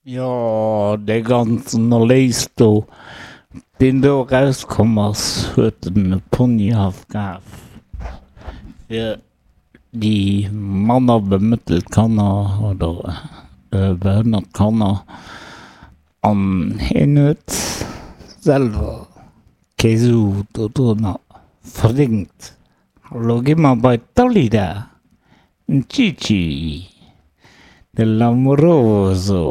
Jo, dee ganzen Erléis do, deen do erauskomm ass, huet en e Ponyhaff kaf fir déi manner bemëttelt Kanner oder behënnert Kanner. An hien huet selwer kee Su dodrunner verdéngt. Elo gi mer bei d'Dalida, den Gigi, de L'Amoroso.